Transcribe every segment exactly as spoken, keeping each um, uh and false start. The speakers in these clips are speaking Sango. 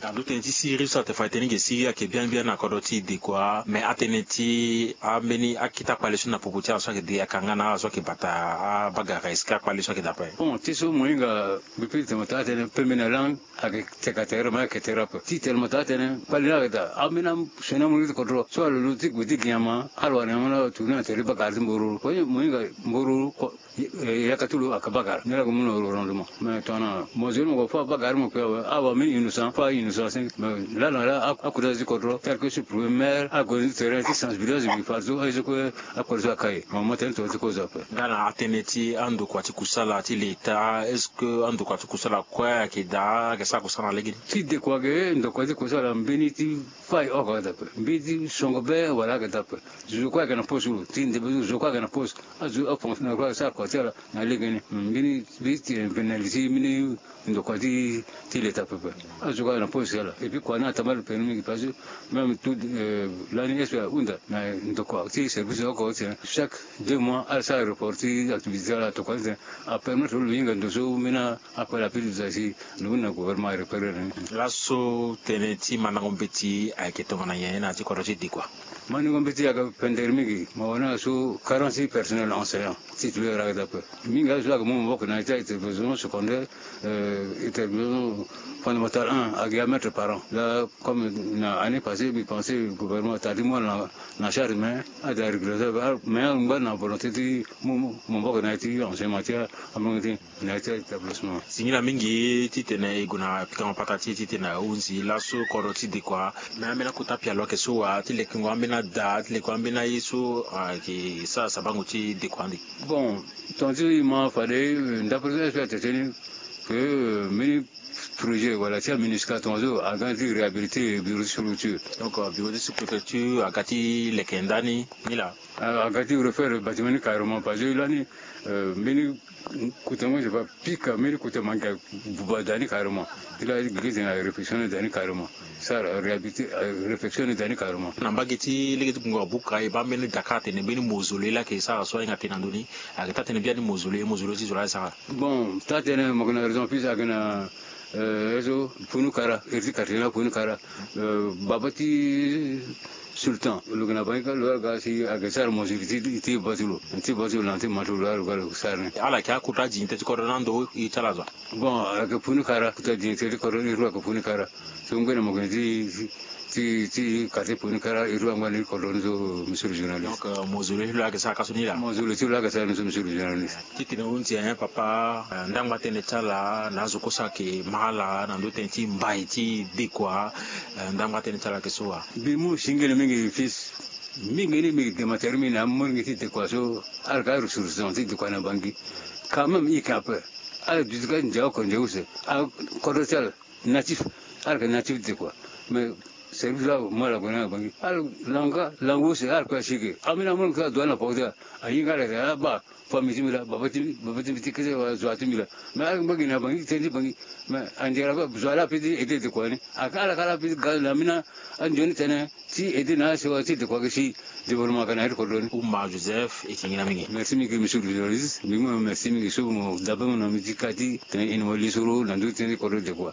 Ando tënë ti siriri so atene fa e tene ge siriri ayeke biani biani na kodro ti Dekoa, me atënë ti ambeni akita kpale so na popo ti ala so ayeke de akanga na ala so ayeke bata abagara, est-ce que akpale so ayeke daa ape? Bon, ti so mo hinga, bepre ti tene mo taa tënë pembe na langue ayeke teka tere, ma ayeke tere ape. Ti tene mo taa tënë kpale ni ayeke daa, ambeni asioni amolenge ti kodro so alo lo ti gue ti gi nyama, ala wara nyama ni atourner na tere ti bagara ti Mbororo. Mo hinga Mbororo ko, yaka ti lo ayeke bagara ni, ala gue mu na rendement. Mais tongana mo zo ni mo gue fo abagara mo kue awe, awe ambeni innocent fo a innocent si. Mais laa na laa akota ti kodro, tel que sur premier maire, ague ni tere ti sensibilisation, bi fadeso aye so kue akpale so aka ye. Mo ma tënë ti tongana ti kozo ape. Nga na atënë ti andokua ti kusala ti leta, est-ce que andokua ti kusala kue ayeke daa, ayeke sara kusala na legeni? Ti Dekoa ge, ndokua ti kusala mbeni ti fâ oko ayeke daa ape, mbeni ti songo be wala ayeke daa ape. Zo kue ayeke na poste lo, ti ndembe zo, zo kue ayeke na poste. Azo afonctionnaire kue ayeke sara kua ti ala na legeni. Mbeni, mbeni ti infirmier ti mbeni ndokua ti, ti leta pepe. Azo kue ayeke na poste ti ala. Et puis kua ni atambara permis mingi parce que même tout, euh, lani S P ahunda na ndokua ti service oko ti tene chaque deux mois ala sara report ti activité ti ala tokua ti tene apermettre lo hinga ndo so mbeni akpale ape ti duti asi lo hunda na gouvernement areparer na ni. Laso tënë ti mandango mbeti ayeke tongana nyen na ya ti kodro ti Dekoa? Mandango mbeti ayeke pendere mingi, mo wani na so quarante-six personnel enseignant titulaire ayeke daa ape. Mingi azo so ayeke mu maboko na ya ti établissement secondaire, euh, établissement fondamental un ayeke ya mètre par an. Là, comme na année passée, mbi pensé gouvernement atari ti mu ala na, na charge, mais ada regretter, mais angba na volonté ti mu, mu maboko na ya ti enseignement ti amolenge ti na ya ti établissement. Singila mingi titene e gue na pikango patara ti e titene ahunzi laso kodro ti Dekoa. Mais ambeni akota pialo ayeke so wa ti lekengo ambeni ada, ti lekengo ambeni aye so ayeke sara sabango ti Dekoa ande? Bon, tongana ti e ma fade, euh, d'après so S P atene tënë ni, que, euh, mbeni projet wala ti aMINUSCA tongana so aga ti réhabiliter bureau ti sous-préfecture. Donc, euh, bureau ti sous-préfecture aga ti leke ndani ni laa? Ah, aga ti refaire bâtiment ni carrément, parce que lani, euh, mbeni kota mo si fa pika mbeni kota mangi abuba daa ni carrément. Ti la gege tene aréflexion ni daa ni carrément. Sara réhabiliter, euh, réflexion ni daa ni carrément. Na mbage ti lege ti Gungua Buka, e baa mbeni daka atene mbeni mausolée laa ayeke sara so ahinga tene na ndö ni. Ayeke taa tënë biani mausolée, mausolée ti zo laa e sara? Bon, taa tënë mo yeke na raison, puisque ayeke na, euh, e so Punu Kara, iri ti quartier ni laa Punu Kara. Euh, baba ti Sultan lo yeke na Bangi kâ, lo wara ga si ayeke sara mausolée ti, ti baba ti lo, ti baba ti lo na ti ma ti lo, lo wara lo ga lo sara ni. Ala yeke akota dignité ti kodro na ndo iri ti ala zo? Bon, ayeke Punu Kara, kota dignité ti kodro iri ti lo ayeke Punu Kara. So ngbene mo yeke na ti, ti, ti quartier Punu Kara, iri ti lo angba na iri kodro ni so, monsieur le journaliste. Donc, euh, mausolée ti lo ayeke sara ka so ni laa? Mausolée ti lo ayeke sara ni so, monsieur le journaliste. Titene ahunzi, eh, papa, eh, ndangba tënë ti ala na azo kue so ayeke ma ala na ndö tënë ti mbai ti Dekoa, eh, ndangba tënë ti ala ayeke so wa? Mbi mu singila mingi fils. Mingi ni mbi yeke gema tere mingi na amolenge ti Dekoa so, ala yeke aressources ti Dekoa na Bangi. Quand même, i yeke ape. Ala duti kâ ndia oko ndia use. Akodro ti ala natif, ala yeke natif ti Dekoa. Mais service laa mo ala gue na Bangi, ala lango kâ, lango use, ala kue asi ge. Ambeni amolenge so adoit na poko ti ala, ahinga ala tene, ah, baa, famille ti mbi laa, baba ti mbi, baba ti mbi ti kete wala zo ti mbi laa. Mais ala yeke mbage na Bangi, tënë ti Bangi. Mais andiara kue zo laa apeut ti aider Dekoa ni. Aka ala kâ laa apeut ti ga na ambeni andioni tënë ti aider na asewa ti Dekoa ge si développement aga na ya ti kodro ni. Ouma Joseph, e yeke ngira mingi. Merci mingi monsieur le journaliste. Mbi mu merci mingi so mo dabe mo na mbi ti kâ ti tene e na mo lisoro na ndö ti tënë ti kodro Dekoa.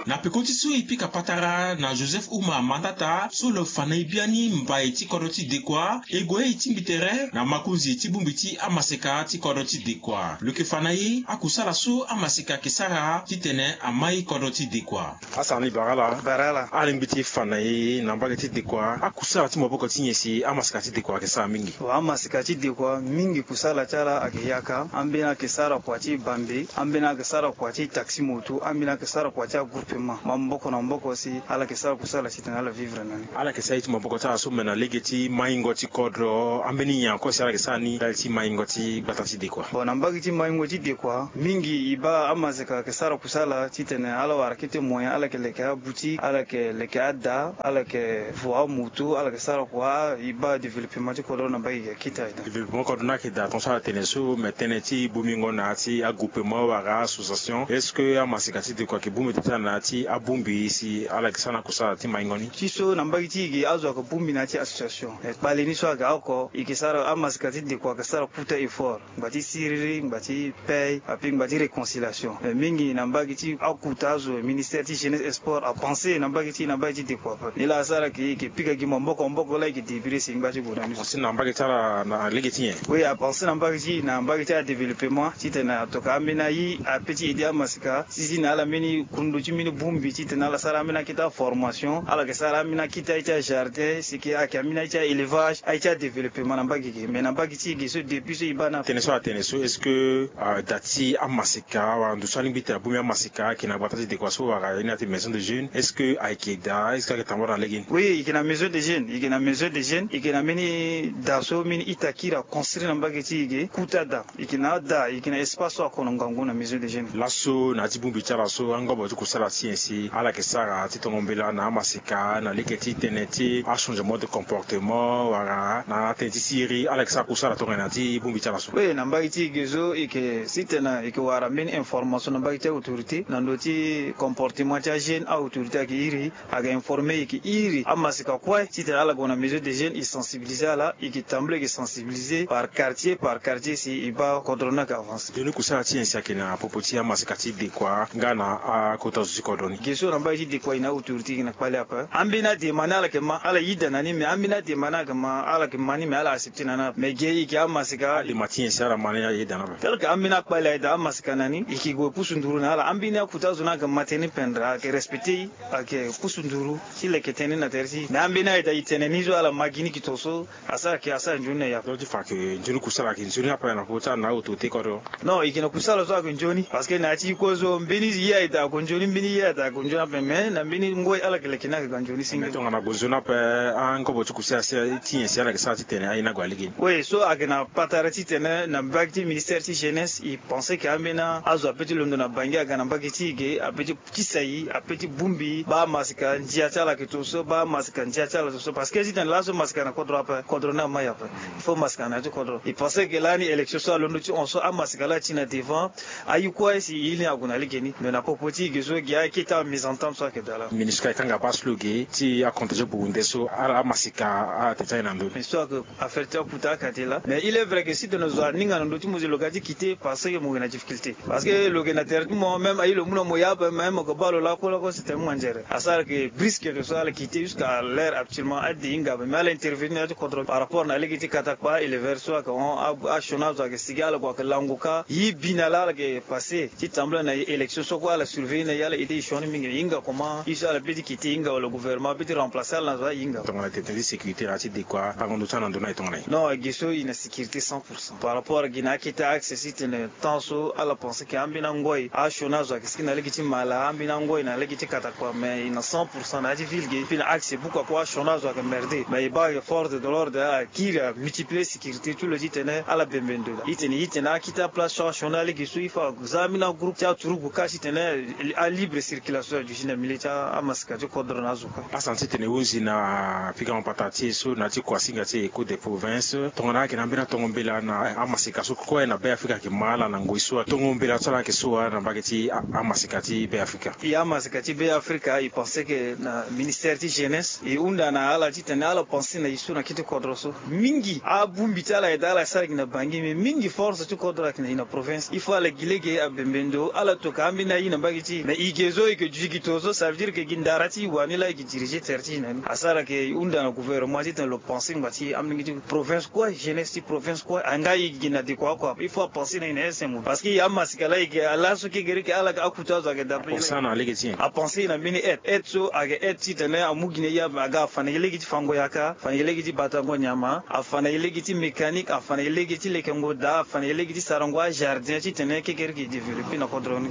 Na peko ti so e pika patara na Joseph Ouma Mandata so lo fa na e biani mbai ti kodro ti Dekoa, e gue e tingbi tere na makonzi ti bongbi ti amaseka ti kodro ti Dekoa. Lo yeke fa na e akusala so amaseka ayeke sara titene amai kodro ti Dekoa. Asara ni bara ala. Bara ala. Alingbi ti fa na e na mbage ti Dekoa, akusala ti maboko ti nyen si amaseka ti Dekoa ayeke sara mingi? Wa, amaseka ti Dekoa mingi kusala ti ala ayeke yaka. Ambeni ayeke sara kua ti bambe, ambeni ayeke sara kua ti taxi moto, ambeni ayeke sara kua ti agroupement. Maboko maboko na maboko si ala yeke sara kusala titene ala vivre na ni. Ala yeke sara ye ti maboko ti ala so me na lege ti maingo ti kodro, ambeni nyen encore si ala yeke sara ni ndali ti maingo ti gbata ti dekua? Bon, na mbage ti maingo ti dekua mingi e baa amaseka ayeke sara kusala titene ala wara kete moyen, ala yeke leke aboutique, ala yeke leke ada, ala yeke vo amoto, ala yeke sara kua, e baa développement ti kodro na mbage ayeke akita aye. Développement kodro ni ayeke daa tongaso ala tene so, me tënë ti bongbingo na ya ti agroupement wala association, est-ce que amaseka ti dekua ayeke bongbi daa ti ala na ya ti abongbi si ala yeke sara na kusala ti maingo ni? Ti so na mbage ti e ge azo ayeke bongbi na ya ti association. E kpale ni so ayeke oko, e yeke sara, amaseka ti dekua ayeke sara kota effort, ngba ti siriri, ngba ti paye, ape ngba ti réconciliation. Me mingi na mbage ti akuta azo, ministère ti jeunesse et sport apense na mbage ti, na mbage ti dekua ape. Ni laa asara ke e yeke pika gi maboko maboko laa e yeke débrouiller si ngba ti gue na ni. Apense na mbage ti ala na lege ti nyen? Oui, apense na mbage ti, na mbage ti adéveloppement titene atokua ambeni aye ape ti aider amaseka si, si na ala mbeni kundu ti mbeni bongbi titene ala sara ambeni akete aformation, ala yeke sara ambeni akete aye ti ajardin, si ke ayeke ambeni aye ti aélevage, aye ti adéveloppement na mbage ge. Mais na mbage ti e ge so depuis so e baa na tënë so atene so, est-ce que, ah, da ti amaseka wala ndo so alingbi ti abongbi amaseka ayeke na gbata ti dekua so wala ye ni ati maison de jeune, est-ce que ayeke daa, est-ce que ayeke tambula na lege ni? Oui, e yeke na maison de jeune, e yeke na maison de jeune, e yeke na mbeni da so mbeni ita kiri aconstruire na mbage ti e ge, kota da. E yeke na ada, e yeke na espace so akono ngangu na maison de jeune. Laso na ya ti bongbi ti ala so, angobo ti kusala ti nyen si ala yeke sara ti tongo mbela na amaseka na lege ti tënë ti achangement de comportement wala na tënë ti siriri, ala yeke sara kusala tongana na ya ti bongbi ti ala so? Oui, na mbage ti e ge so e yeke, si tene e yeke wara mbeni information na mbage ti autorité na ndo ti comportement ti ajeune, autorité ayeke iri, ayeke informer, e yeke iri amaseka kue titene ala gue na maison de jeune, e sensibiliser ala, e yeke tambula e yeke sensibiliser par quartier par quartier si e baa kodro ni ayeke avancer. Nzoni kusala ti nyen si ayeke na popo ti amaseka ti dekua nga na akota zo ti kodro ni? Ge so na mbage ti dekua e na autorité e yeke na kpale ape. Ambeni adema ni ala yeke ma, ala yeda na ni, mais ambeni adema ni ala yeke ma, ala yeke ma ni, mais ala accepter na ni ape. Mais ge e yeke amaseka. Adema ti nyen si ala ma ni, ala yeda na ni ape? Tel que ambeni akpale ayeda amaseka na ni, e yeke gue pusu nduru na ala. Ambeni akuta azo ni ayeke ma tënë ni pendere, ayeke respecter e, ayeke pusu nduru ti leke tënë ni na tere ti e. Mais ambeni ayeda e tene ni so ala ma gi ni gi to so, asara ke asara nzoni na e ape. Donc ti fa ke nzoni kusala ayeke nzoni ape na popo ti ala na autorité kodro? Non, e yeke na kusala so ayeke nzoni. Parce que na ya ti e kue so mbeni ye ayeda ayeke nzoni, mbeni ye ayeda ayeke nzoni ape, mais na mbeni ngoi ala yeke leke ni ayeke ga nzoni si. Mais tongana gue nzoni ape, angobo ti kusala ti nyen si ala yeke sara titene aye ni ague na lege ni? Oui, so ayeke na patara titene na mbage ti ministère ti jeunesse, e pense ke ambeni azo ape ti londo na Bangui aga na mbage ti e ge, ape ti kisa e, ape ti bongbi e, baa amaseka ndia ti ala ayeke to so, baa amaseka ndia ti ala to so. Parce que titene laso maseka na kodro ape, kodro ni amai ape. Il faut maseka na ya ti kodro. E pense ke lani élection so alondo ti hon so, amaseka laa ati na devant, aye kue si e ye ni ague na lege ni. Mais na popo ti e ge so, gi akete amésentente so ayeke daa laa. Ministre ka e kanga baa si lo ge ti acontrôle ti burundais so, ala amaseka atene ti aye na ndö ni. Mais so ayeke affaire ti akuta akate laa. Mais il est vrai que si tene zo aninga na ndö ti mo zi lo ga ti quitter, parce que mo yeke na difficulté. Parce que lo yeke na tere ti mo, même aye lo mu na mo ya ape, même mo yeke baa lo lakue lakue, c'est tellement nzere. Asara ke brisque de so ala quitter jusqu'à l'heure actuellement, ade e hinga ape. Mais ala intervenir na ya ti kodro par rapport na lege ti katakpa, éleveur so ayeke hon, a, asioni azo ayeke sigi, ala gue ayeke lango ka. Ye bi na laa ala yeke passé ti tambula na élection so kue, ala surveiller na e, ala aider e sioni mingi. E hinga comment, ye so ala peut ti quitter e hinga, wala gouvernement apeut ti remplacer ala na zo, e hinga. Tongana tene ti sécurité na ya ti dekua, bango ndo ti ala na ndo ni aye tongana nyen? Non, ge so e na sécurité cent pour cent. Par rapport gi na akete axe, si tene temps so ala pense ke ambeni angoi asioni azo ayeke sigi na lege ti mala, ambeni angoi na lege ti katakpa, mais e na cent pour cent na ya ti ville ge. Puis na axe buku akue asioni azo ayeke merde, mais e baa force de l'ordre ala kiri amultiplier sécurité ti lo titene ala bembe ndo. E tene, e tene akete aplace so asioni alege so, il faut aza ambeni agroupe ti aturugu ka titene alibre circulation aduti na milieu ti amaseka ti kodro na azo. Asanti titene e hunzi na pika mapata ti e so na ya ti kuasinga ti e, Echo des Provinces. Tongana ayeke na ambeni atongo mbela na amaseka so kue na Be Afrika ayeke ma ala na ngoi so, atongo mbela so ala yeke so wa na mbage ti a, amaseka ti Be Afrika? E amaseka ti Be Afrika, e pense ke na ministère ti jeunesse e hunda na ala titene ala pense na e so na kete kodro so. Mingi abongbi ti ala ayeke daa ala sara gi na Bangui, mais mingi force ti kodro ayeke na e na province. Il faut ala gi lege abembe ndo, ala toka ambeni aye na mbage ti e. Mais e ge so e yeke duti gi to so, ça veut dire que gi ndara ti e wani laa e yeke diriger tere ti e na ni. Asara ke e hunda na gouvernement titene lo pense ngba ti ambeni gi ti province kue, jeunesse ti province kue, anga e gi na dekua oko ape. Il faut apense na e na S M O. Parce que e amaseka laa e yeke laso kekereke ala yeke akuta azo ayeke dape. Apense na lege ti nyen? Apense na mbeni aide. Aide so ayeke aide titene amu gi na e ape, aga afa na e lege ti fango yaka, afa na e lege ti batango nyama, afa na e lege ti mécanique, afa na e lege ti lekengo daa, afa na e lege ti sarango ajardin titene kekereke e développer na kodro ni.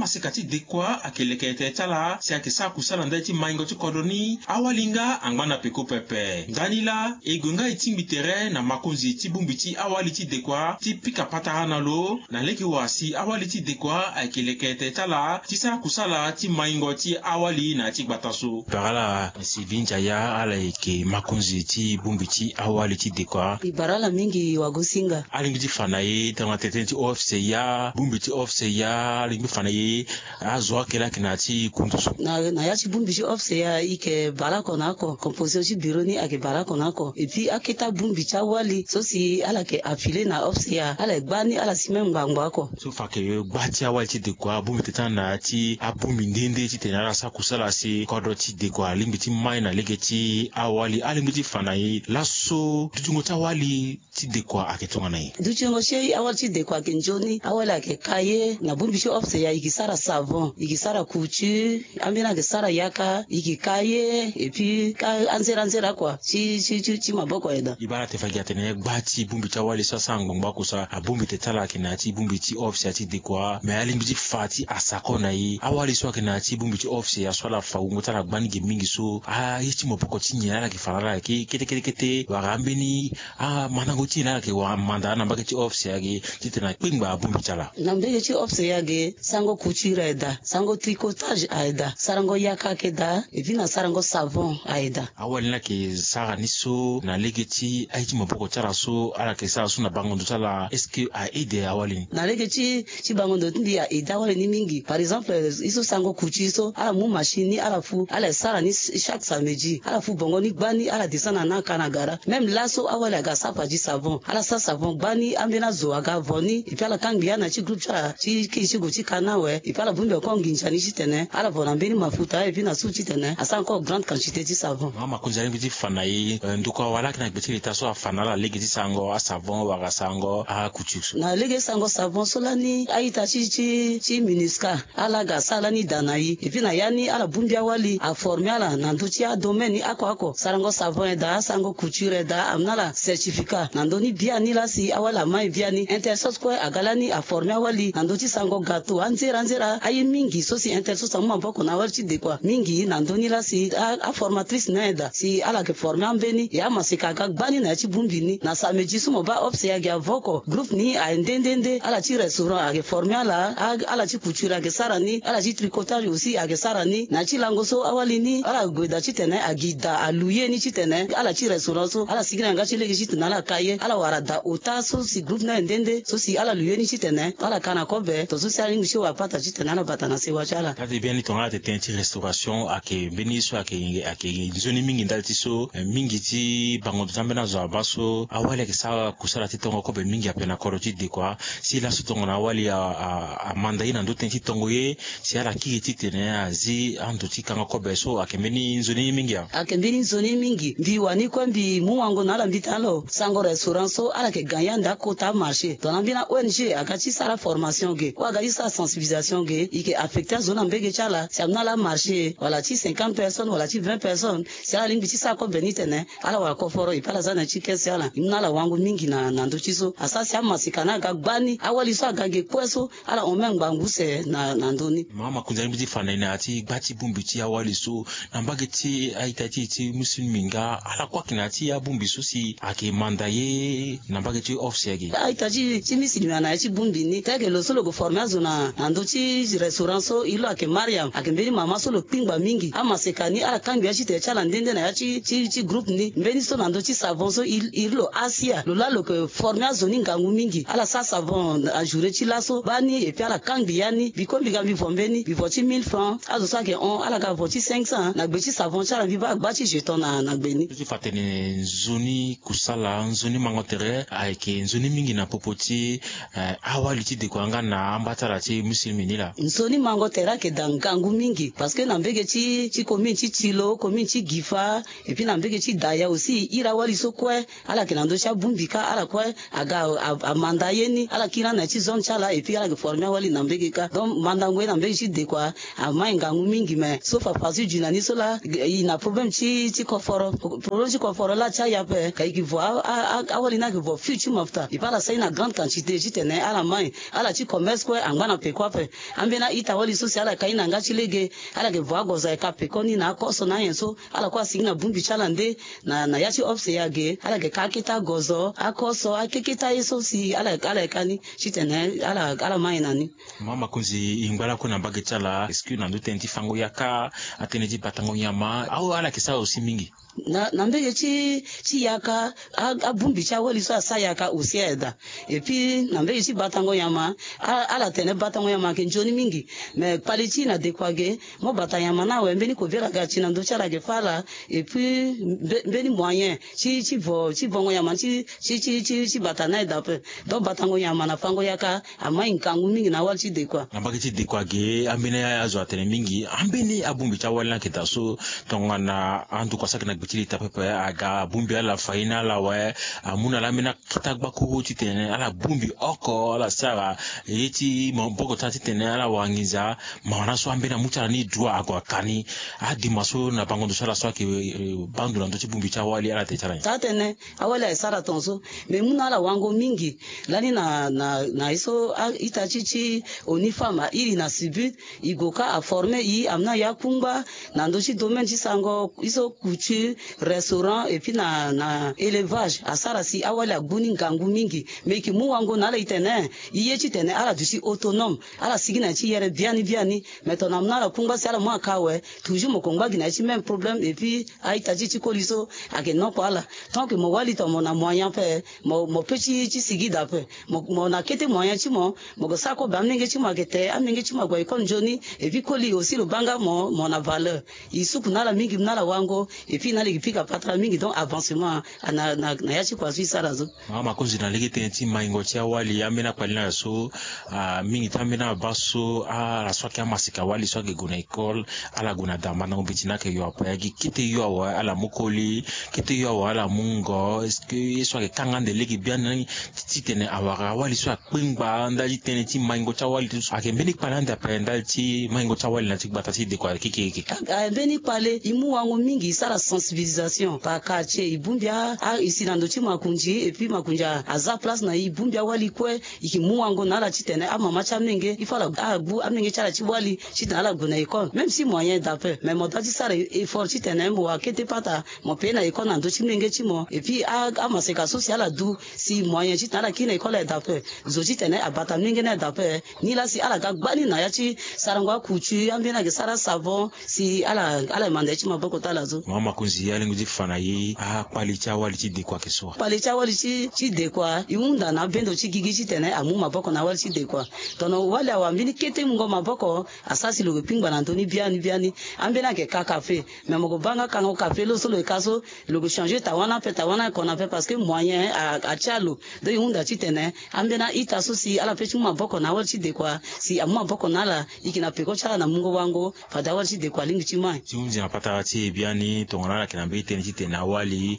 Amaseka ti dekua ayeke leke ete ti ala si ayeke sara kusala ndali ti maingo ti kodro ni. Awali nga angba na peko pepe. Ndani laa e gue nga e tingbi tere na makonzi ti bongbi ti awali ti dekua ti pika patara na lo na lege wa si awali ti dekua ayeke leke ete ti ala ti sara kusala ti maingo ti awali na ya ti gbata so. Parala Sylvie Ndiaya, ala yeke makonzi ti bongbi ti awali ti dekua. E bara ala mingi wagosinga. Alingbi ti fa na e tongana tene ti office ya, bongbi ti office ya, alingbi fa na e azo akela ayeke na ya ti kundu so. Na, na ya ti bongbi ti office ya, e yeke bara oko na oko, composition ti bureau ni ayeke bara oko na oko. Et puis aketa bongbi ti awali so si ala yeke affilié na office ya, ala yeke gba ni, ala si même ngbangbo oko. So fa ayeke gba ti awali ti dekua, abongbi tene ti ala na ya ti abongbi nde nde titene ala sara kusala si kodro ti dekua alingbi ti mai na lege ti awali. Alingbi ti fa na e laso dutingo ti awali ti dekua ayeke tongana nyen? Dutingo ti awali ti dekua ayeke nzoni. Awali ayeke ka ye na bongbi ti office ya, e ke sara savon, e ke sara couture, ambeni ayeke sara yaka, e ke ka ye, et puis ka anzera anzera kua ti, ti, ti, ti maboko aye daa. E baa na tene fa gi atene gba ti bongbi ti awali so asara ngbangbo oko so, abongbi tene ti ala ayeke na ya ti bongbi ti office ya ti dekua, me alingbi ti fa ti asako na e. Awali so ayeke na ya ti bongbi ti office ya so ala fa wungo ti ala gba ni ge mingi so, aye ti maboko ti nyen ala yeke fa na ala ayeke kete kete kete, wala ambeni amandango ti nyen ala yeke wara manda na mbage ti office ya ge titene akpengba abongbi ti ala? Na mbage ti office ya ge, sarango couture aye daa, sarango tricotage aye daa, sarango yaka ayeke daa, et puis na sarango savon aye daa. Awali ni ayeke sara ni so na lege ti aye ti maboko ti ala so ala yeke sara so na bango ndo ti ala, est-ce que a aide awali ni? Na lege ti, ti bango ndo ti mbi a aide awali ni mingi. Par exemple, e so sarango couture so, ala mu machine ni ala fu, ala sara ni chaque samedi, ala fu bongo ni gba ni, ala descend na na ka na gara. Même laso awali aga sara padi savon, ala sara savon gba ni, ambeni azo aga vo ni, et puis ala kangbi ya na ya ti groupe ti ala ti kiri ti gue ti ka na awe, et puis ala bongbi encore nginza ni titene ala vo na mbeni mafuta, et puis na sou titene asara encore grande quantité ti savon. Mama Konzi, alingbi ti fa na e, eh, ndokua wala ayeke na gbe ti leta so afa na ala lege ti sarango asavon wala sarango acouture so? Na lege sarango savon so lani a-ita ti, ti, ti MINUSCA ala ga sara lani da na e. Et puis na ya ni ala bongbi awali, aforme ala na ndö ti adomaine ni oko oko. Sarango savon aye daa, sarango couture aye daa, amu na ala certificat na ndö ni biani laa si awali amai biani. Intersos kue aga lani aforme awali na ndö ti sarango gâteau, anzera anzera aye mingi so si Intersos amu maboko na awali ti dekua mingi na ndö ni laa si a, aformatrice ni aye daa si ala yeke forme ambeni. E amaseka aga gbani na ya ti bongbi ni. Na samedi so mo baa office ayeke avo oko, groupe ni aye nde nde nde. Ala ti restaurant ayeke forme ala, a, ala ti couture ayeke sara ni, ala ti tricotage aussi ayeke sara ni. Na ya ti lango so awali ni ala gue daa titene agi daa alouye ni titene ala ti restaurant so ala sigi na yanga ti lege titene ala ka ye. Ala wara daa ota so si groupe ni aye nde nde so si ala louye ni titene ala ka na kobe, tongaso si ala lingbi ti wara pata titene ala bata na sewa ti ala. Ade biani tongana ala tene ti restauration ayeke mbeni so ayeke, ayeke nzoni mingi ndali ti so, eh, mingi ti bango ndo ti ambeni azo abaa so awali ayeke sara kusala ti tongo kobe mingi ape na kodro ti dekua. Si laso tongana awali a, a, amanda ye na ndö tënë ti tongo ye si ala kiri titene azi ando ti kanga kobe so ayeke mbeni nzoni ye mingi a? Ayeke mbeni nzoni ye mingi. Mbi wani kue mbi mu wango na ala mbi tene lo sarango restaurant so ala yeke gagne ande akota amarché. Tongana mbeni a-O N G aga ti sara formation ge, ou aga ti sara sensibilisation ge, e yeke affecté azo na mbage ti ala si amu na ala amarché wala ti cinquante personnes wala ti vingt personnes, si ala lingbi ti sara kobe ni tene ala wara koforo, e pe ala za na ya ti kese ti ala. E mu na ala wango mingi na, na ndö ti so. Asara si amaseka ni aga gbani, awali so aga ge kue so, ala hon même ngbangbu use na, na ndö ni. Mama Konzi, alingbi ti fa na e na ya ti gba ti bongbi ti awali so, na mbage ti a-ita ti e ti musulmi nga, ala kue ayeke na ya ti abongbi so si ayeke manda ye na mbage ti office ayeke? A-ita ti, ti musulmi na ya ti bongbi ni, teke lo so lo gue forme azo na, na ndö ti restaurant so, iri lo ayeke Mariam, ayeke mbeni mama so lo kpingba mingi. Amaseka ni ala kangbi ya ti tene ti ala nde nde na ya ti, ti, ti groupe ni. Mbeni so na ndö ti savon so, iri, iri lo Asia, lo laa lo yeke forme azo ni ngangu mingi. Ala sara savon na journée ti laso gbani, et puis ala kangbi ya ni. Mbi kue mbi ga mbi vo mbeni, mbi vo ti mille francs. Azo so ayeke hon, ala ga vo ti cinq cents. Na gbe ti savon ti ala mbi baa agba ti jeton na, na gbe ni. Ti fa tene nzoni kusala, nzoni mango tere ayeke nzoni mingi na popo ti, eh, awali ti dekua nga na amba ti ala ti musulmi ni laa. Nzoni mango tere ayeke daa ngangu mingi, parce que na mbage ti, ti commune ti Tilo, commune ti Guifa, et puis na mbage ti Daya aussi, iri awali so kue, ala yeke na ndö ti abongbi kâ, ala kue aga a, a, amanda ye ni, ala kiri na ya ti zone ti ala, et puis ala yeke forme awali na mbage kâ. Donc mandango ye na mbage ti dekua amai ngangu mingi, mais so fa façon ti dina ni so laa, e na problème ti, ti koforo. Problème ti koforo laa ti aya ape, ka e ke vo a, a, a, awali ni ayeke vo fût ti mafuta. E pe ala sara ni na grande quantité titene ala mai. Ala ti commerce kue angba na peko ape. Ambeni a-ita wali so si ala ka ni na yanga ti lege, ala yeke vo agozo ayeke apeko ni na akoso na anyen so. Ala kue asigi na bongbi ti ala nde na, na ya ti O F C A ge, ala yeke ka akete agozo, akoso, akeketa ye so si ala, ala yeke ka ni titene ala, ala mai na ni. Mama Konzi, e ngba lakue na mbage ti ala, est-ce que na ndö tënë ti fango yaka, atënë ti batango nyama, awe ala yeke sara aussi mingi? Na, na mbage ti, ti yaka, a, abongbi ti awali so asara yaka aussi aye daa. Et puis, na mbage ti batango nyama, a, ala tene batango nyama ayeke nzoni mingi. Mais kpale ti e na dekua ge, mo bata nyama ni awe, mbeni kobela ga ti na ndö ti ala ayeke fâ ala. Et puis, mbe-, mbeni moyen ti, ti vo, ti vongo nyama ti, ti, ti, ti, ti bata ni aye daa ape. Donc, batango nyama na fango yaka, amai ngangu mingi na awali ti dekua. Na mbage ti dekua ge, ambeni azo atene mingi, ambeni abongbi ti awali ni ayeke daa so, tongana andokua so ayeke na gbe ti leta pepe, aga abongbi ala, fâ ni na ala awe, amu na ala ambeni akete agbakuru titene ala bongbi oko, ala sara ye ti maboko ti ala titene ala wara nginza. Mawa na so ambeni amu ti ala ni droit ague aka ni. Adema so na bango ndo so ala so ayeke, eh, baa ndo na ndö ti bongbi ti awali, ala tene ti ala nyen? Taa tene, awali aye sara tongaso. Me mu na ala wango mingi. Lani na, na, na ye so a-ita ti, ti ONU Femmes airi na Sibut, e gue ka aforme e, amu na e akungba na ndö ti domaine ti sarango ye so couture, restaurant, et puis na, na élevage, asara si awali agbu ni ngangu mingi. Me e yeke mu wango na ala, e tene e ye titene ala duti autonome, ala sigi na ya ti yere biani biani. Me tongana amu na ala kungba si ala mu aka awe, toujours mo yeke ngba gi na ya ti même problème. Et puis a-ita ti e ti koli so ayeke noko ala. Tant que mo wali tongana mo na moyen ape, mo, mo pe ti, ti sigi daa ape. Mo, mo na kete moyen ti mo, mo yeke sara kobe amolenge ti mo ayeke te, amolenge ti mo ague école nzoni. Et puis koli aussi lo baa nga mo, mo na valeur. E suku na ala mingi, mu na ala wango. Et puis na ala e yeke pika patara mingi. Donc avancement, a, na, na, na ya ti kua so e sara so. Mama Konzi, na lege tënë ti maingo ti awali, ambeni akpali ni aye so, ah, mingi ti ambeni abaa so, ah, ala so ayeke amaseka wali so ayeke gue na école, ala gue na da mandango mbeti ni ayeke yo ape, ayeke kete yo awe ala mu koli, kete yo awe ala mu ngo. Est-ce que ye so ayeke kanga ande lege biani ti, titene awara awali so akpengba ndali ti tënë ti maingo ti awali ti so ayeke mbeni kpale ande ape ndali ti maingo ti awali na ti gbata ti dekua keke keke? Ah, mbeni kpale, e mu wango mingi, e sara sensibilisation par quartier, e bongbi a, a, e si na ndo ti makonzi, et puis makonzi a, aza place na e, e bongbi awali kue. E yeke mu wango na ala titene amama ti amolenge, il faut ala agbu amolenge ti ala ti wali titene ala gue na école. Même si moyen daa ape, mais mo doit ti sara effort titene mo wara kete pata, mo paye na école na ndö ti molenge ti mo. Et puis a, amaseka so si ala du si moyen titene ala kiri na école aye daa ape, zo titene abata molenge ni aye daa ape. Nilaa si ala ga gba ni na ya ti sarango acouture, ambeni ayeke sara savon, si ala, ala manda ye ti maboko ti ala so. Mama Konzi, alingbi ti fa na e, akpali ti awali ti dekua ayeke so wa? Kpali ti awali ti, ti dekua, e hunda na abendo ti gigi titene amu maboko na awali ti dekua. Tongana wali awara mbeni kete mungo maboko, asara si lo yeke kpingba na ndö ni biani biani. Ambeni ayeke ka café, mais mo yeke baa nga kango café lo so lo yeke ka so, lo yeke changer tawana ape, tawana ayeke hon ape, parce que moyen a, atia lo. Donc e hunda titene ambeni a-ita so si ala pe ti mu maboko na awali ti dekua, si amu maboko na ala, e yeke na peko ti ala na mungo wango, fade awali ti dekua alingbi ti mai. Ti hunzi na patara ti e biani, tongana ala yeke na mbeni tënë titene awali,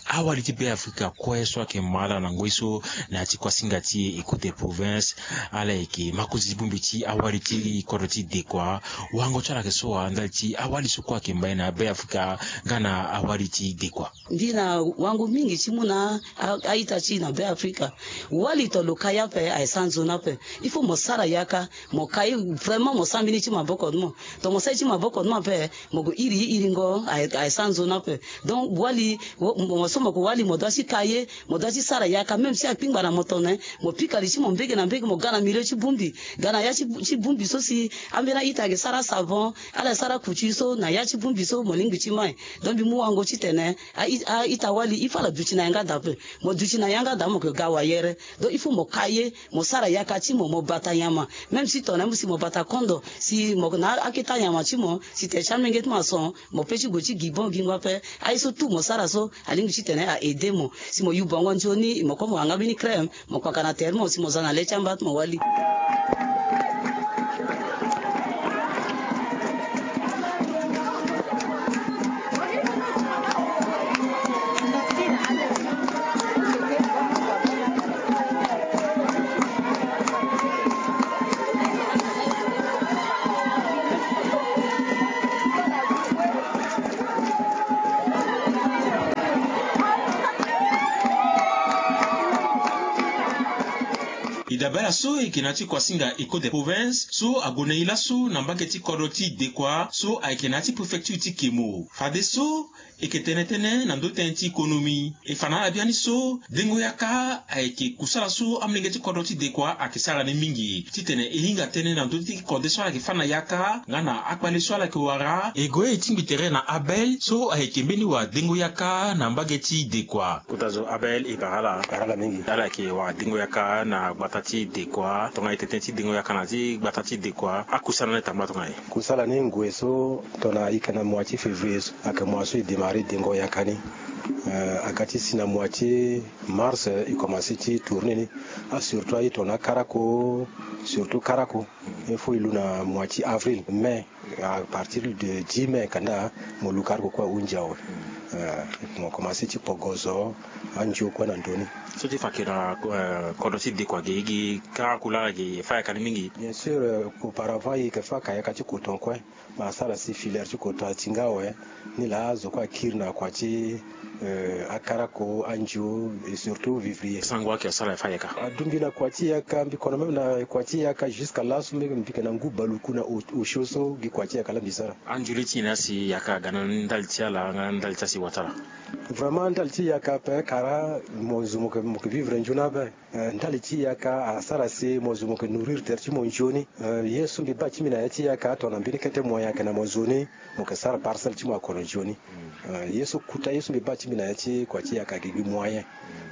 awali ti Beafrika kue so ayeke ma ala na ngoi so na ya ti kuasinga ti e, écoute province, ala yeke makonzi ti bongbi ti awali ti kodro ti dekua. Wango ti ala ayeke so wa ndali ti awali so kue ayeke ma e na Beafrika nga na awali ti dekua? Mbi na wango mingi ti mu na a, a-ita ti e na Beafrika. Wali to lo ka ye ape, aye sara nzoni ape. Il faut mo sara yaka, mo ka ye vraiment, mo sara mbeni ti maboko ti mo. To mo sara ye ti maboko ti mo ape, mo gue iri ye iringo, aye, aye sara nzoni ape. Donc wali, wo, mo so mo gue wali, mo doit ti ka ye, mo doit ti sara yaka, même si akpingba na mo tongana nyen, mo pika li ti mo mbege na mbege, mo ga na milieu ti bongbi, ga na ya ti, ti bongbi so si ambeni a-ita ayeke sara savon, ala sara couture so, na ya ti bongbi so mo lingbi ti mai. Donc mbi mu wango titene a-i, a-ita wali, il faut ala duti na yanga daa ape. Mo duti na yanga daa, mo yeke ga wayere. Donc il faut mo ka ye, mo sara yaka ti mo, mo bata nyama. Même si tongana nyen, si mo bata kondo, si mo na akete anyama ti mo, si tere ti amolenge ti mo ason, mo pe ti gue ti gi bon gi ngba ape. Aye so tout mo sara so, alingbi titene a-aider mo. Si mo yu bongo nzoni, mo kue mo wara nga mbeni crème, mo kpaka na tere ti mo, si mo za na le ti amba ti mo wali. Dabe ala so e yeke na ya ti kuasinga Ecole des Provinces so ague na e laso na mbage ti kodro ti Dekoa so ayeke na ya ti préfecture ti Kemo. Fadeso e yeke tene tënë na ndö tënë ti konomi. E fa na ala biani so dengo yaka ayeke kusala so amolenge ti kodro ti Dekoa ayeke sara ni mingi titene e hinga tënë na ndö ti kode so ala yeke fâ na yaka nga na akpale so ala yeke wara. E gue e tingbi tere na Abel so ayeke mbeni wadengo yaka na mbage ti Dekoa. Kota zo Abel, e bara ala. Bara ala mingi. Ala yeke wadengo yaka na gbata ti Dekoa. Tongana e tene tënë ti dengo yaka na ya ti gbata ti Dekoa, akusala ni atambula tongana nyen? Kusala ni ngue so tongana e yeke na mois ti février so ayeke mois so e démarrer dengo yaka ni. Euh, aga ti si na mois ti mars, euh, e commencer ti tourner ni. Ah, surtout aye tongana akarako, surtout karako. Il faut e lu na mois ti avril, mai, à partir de dix mai kanda mo lu karako kue ahunzi awe. Euh, mo commencer ti pogo zo, anzio kue na ndö ni. So ti fa ayeke na, euh, kodro ti Dekoa ge, e gi karako laa ge, e fâ yaka ni mingi? Bien sûr, euh, auparavant e yeke fâ ka yaka ti coton kue. Ma asara si filière ti coton atinga awe. Ni laa zo kue akiri na kua ti, euh, akarako, anzio et surtout vivrier. Sango ayeke asara e fâ yaka? Adungbi na kua ti yaka, mbi kono même na kua ti yaka jusqu'à laso mbi, mbi yeke na ngu baluku na o-, osio so gi kua ti yaka laa mbi sara. Anzio lê ti nyen asi yaka aga na ndali ti ala nga na ndali ti asi wa ti ala? Vraiment ndali ti yaka ape kara mo zo mo yeke, mo yeke vivre nzoni ape. Eh, ndali ti yaka asara si mo zo mo yeke nourrir tere ti mo nzoni. Eh, ye so mbi baa ti mbi na ya ti yaka tongana mbeni kete moyen ayeke na mo nzoni, mo yeke sara parcelle ti mo akono nzoni. Eh, ye so kota ye so mbi baa ti mbi na ya ti kua ti yaka ayeke gi moyen.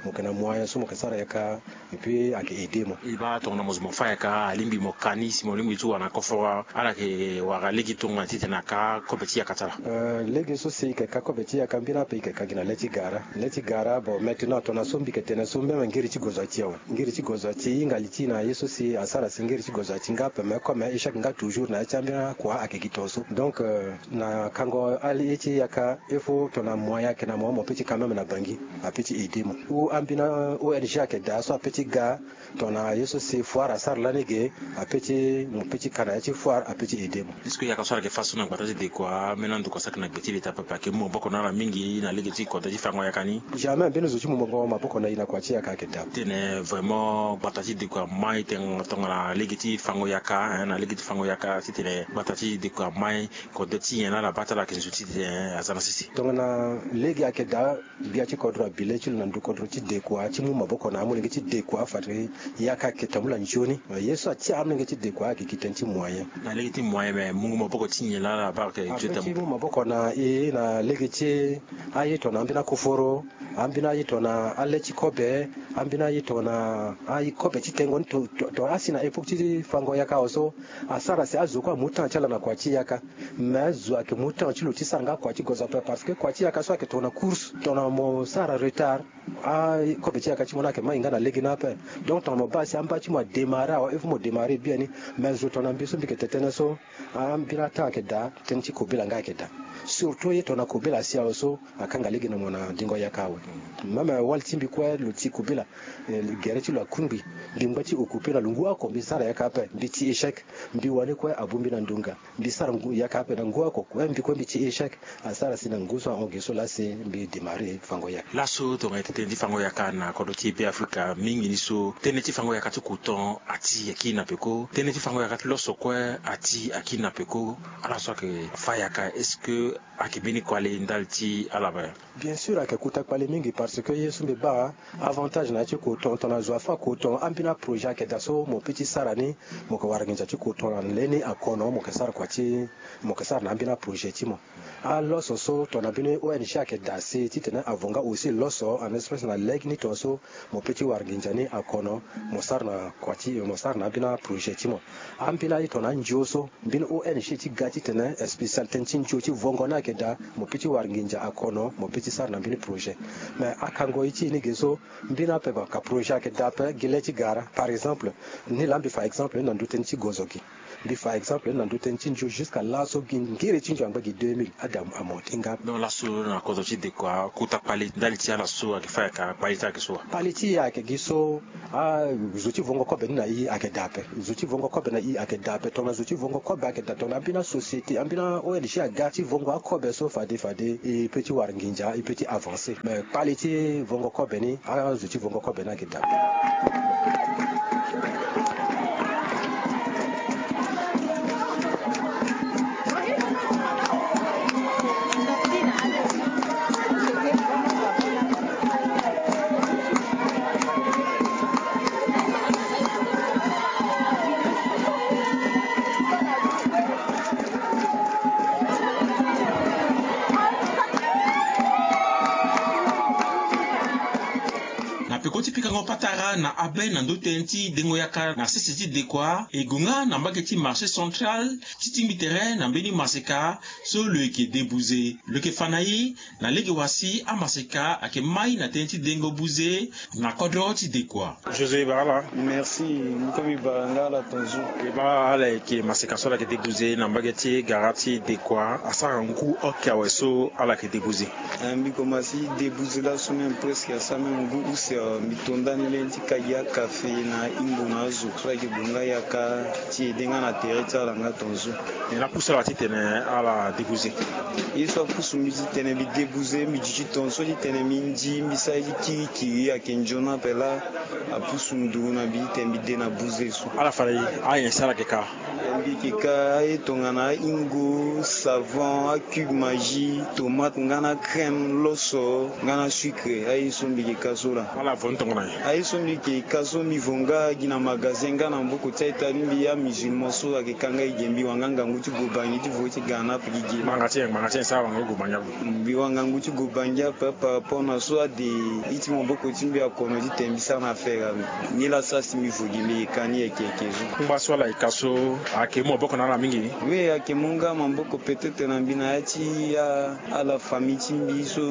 Mo yeke na moyen so mo yeke sara yaka, et puis ayeke aider mo. E baa tongana mo zo mo fâ yaka, alingbi mo ka ni si mo lingbi ti wara na koforo, ala yeke wara lege tongana titene aka kobe ti yaka ti ala? Euh, lege so si e yeke ka kobe ti yaka mbeni ape e yeke ka gi na le ti gara. Le ti gara, bon, maintenant tongana so mbi yeke tene so même ngiri ti gozo ati awe. Ngiri ti gozo ati, e hinga li ti e na ye so si asara si ngiri ti gozo ati nga ape, mais comme échec nga toujours na ya ti ambeni akua ayeke gi tongaso. Donc, euh, na kango ali ye ti yaka, il faut tongana moyen ayeke na mo, mo peut ti ka même na Bangui, apeut ti aider mo. Ou ambeni O N G ayeke daa so apeut ti ga, tongana ye so si foire asara lani ge, apeut ti, mo peut ti ka na ya ti foire, apeut ti aider mo. Est-ce que yaka so ala yeke fâ so na gbata ti Dekoa, ambeni ando kua so ayeke na gbe ti leta pepe ayeke mu maboko na ala mingi na lege ti kodro ti fango yaka ni? Jamais mbeni zo ti mu maboko, maboko na e na kua ti yaka ayeke daa. Tene vraiment gbata ti Dekoa amai tongana lege ti fango yaka, hein, na lege ti fango yaka, titene gbata ti Dekoa amai, kodro ti nyen laa na baa ti ala ayeke nzu titene aza na sese? Tongana lege ayeke daa, gbia ti kodro abi le ti lo na ndö kodro ti Dekoa ti mu maboko na amolenge ti Dekoa fade yaka ayeke tambula nzoni. Ye so atia amolenge ti Dekoa ayeke gi tënë ti moyen. Na lege ti moyen, me mungo maboko ti nyen laa na baa ayeke gi tënë ti mu maboko na e na lege ti aye tongana ambeni akoforo, ambeni aye tongana ale ti kobe, ambeni aye tongana aye kobe ti tengo ni to, to, to asi na époque ti fango yaka awe so, asara si azo kue amu temps ti ala na kua ti yaka. Mais zo ayeke mu temps ti lo ti sara nga kua ti gozo ape, parce que kua ti yaka so ayeke tongana course, tongana mo sara retard, akobe ti yaka ti mo ni ayeke mai nga na lege ni ape. Donc tongana mo baa si amba ti mo adémarrer awe, il faut mo démarrer biani. Mais zo tongana mbi so mbi yeke tene tënë so, ambeni atemps ayeke daa, tënë ti kobela nga ayeke daa. Surtout ye tongana kobela asi awe so, akanga lege na mo na dengo yaka awe. Même wali ti mbi kue lo ti kobela, eh, gere ti lo akungbi. Mbi ngba ti occuper na lo ngu oko, mbi sara yaka ape, mbi ti échec. Mbi wani kue abongbi na ndonga. Mbi sara ngu yaka ape na ngu oko kue, mbi kue mbi ti échec. Asara si na ngu so ahon ge so laa si mbi démarrer fango yaka. Laso tongana e tene tënë ti fango yaka na kodro ti Be Afrika mingi ni so, tënë ti fango yaka ti coton ati akiri na peko. Tënë ti fango yaka ti loso kue ati akiri na peko. Ala so ayeke fâ yaka, est-ce que ayeke mbeni kpale ndali ti ala ape? Bien sûr ayeke kota kpale mingi, parce que ye so mbi baa avantage na ya ti coton, tongana zo afâ coton, ambeni aprojet ayeke daa so mo peut ti sara ni, mo yeke wara nginza ti coton na le ni akono, mo yeke sara kua ti, mo yeke sara na ambeni aprojet ti mo. Aloso so tongana mbeni O N G ayeke daa si titene avo nga aussi loso en espèce na lege ni tongaso, mo peut ti wara nginza ni akono, mo sara na kua ti, mo sara na ambeni aprojet ti mo. Ambeni aye tongana anzio so, mbeni O N G ti ga titene spécial tënë ti nzio ti vongo ni ayeke daa, mo peut ti wara nginza akono, mo peut ti sara na mbeni projet. Mais akango ye ti e ni ge so, mbeni ape baka projet ayeke daa ape gi le ti gara. Par exemple, ni laa mbi fa exemple ni na ndö tënë ti gozo gi. Mbi fa exemple ni na ndö tënë ti nzio jusqu'à laso gi ngiri ti nzio angba gi deux mille ade amo ti nga. Donc laso na kodro ti Dekoa kota kpale ndali ti ala so ayeke fâ yaka, kpale ti ala ayeke so wa? Kpale ti e ayeke gi so, ah, zo ti vongo kobe ni na e ayeke daa ape. Zo ti vongo kobe na e ayeke daa ape. Tongana zo ti vongo kobe ayeke daa, tongana ambeni asociété, ambeni O N G aga ti vongo akobe so fade fade, e peut ti wara nginza, e peut ti avancer. Mais kpale ti vongo kobe ni, azo ti vongo kobe ni ayeke daa ape. Koti pikango patara na abe na ndö tënë ti dengo yaka na sese ti dekua e gue nga na mbage ti marché central ti tingbi tere na mbeni maseka so lo yeke debuze. Lo yeke fa na e na lege wa si amaseka ayeke mai na tënë ti dengo buze na kodro ti dekua. José Barala. Merci. Mbi komi bara nga ala tonzu. E bara ala yeke maseka so ala yeke debuze na mbage ti gara ti dekua asara ngu oke awe so ala yeke debuze. Eh, mbi koma si debuze laso même presque asara même ngu use, eh, mbi to ndani leni ti kagi akafe na ingo na azo so ayeke gue nga yaka ti ede nga na tere ti ala nga tonzu. E na pusu ala titene ala debuze. Ye so apusu mbi titene mbi debuze mbi duti tonso titene mbi ndi mbi sara ye ti kirikiri ayeke nzoni ape laa. Apusu nduru na mbi titene mbi de na buze so. Ala fa na e, ayen si ala yeke ka? Mbi yeke ka aye tongana ahingo, savon, acube magie, tomate nga na crème, loso nga na sucre, aye so mbi yeke ka so laa. Ala vo ni tongana nyen? Aye so mbi yeke ka so mbi vo nga gi na magasin nga na maboko ti a-ita ti mbi amusulman so ayeke ka nga e ge mbi wanga ngangu ti gue bangi ti vo ti ga na ape gi ge. Ngbanga ti nyen, ngbanga ti nyen so awanga ti gue bangi ape? Mbi wanga ngangu ti gue bangi ape par rapport na so ade ye ti maboko ti mbi akono titene mbi sara na affaire ape. Ni laa asara si mbi vo gi mbi yeke ka ni yeke yeke zo. Kungba so ala yeke ka so ayeke mu maboko na ala mingi? Oui, ayeke mu nga maboko peut-être na mbi na ya ti a ala famille ti mbi so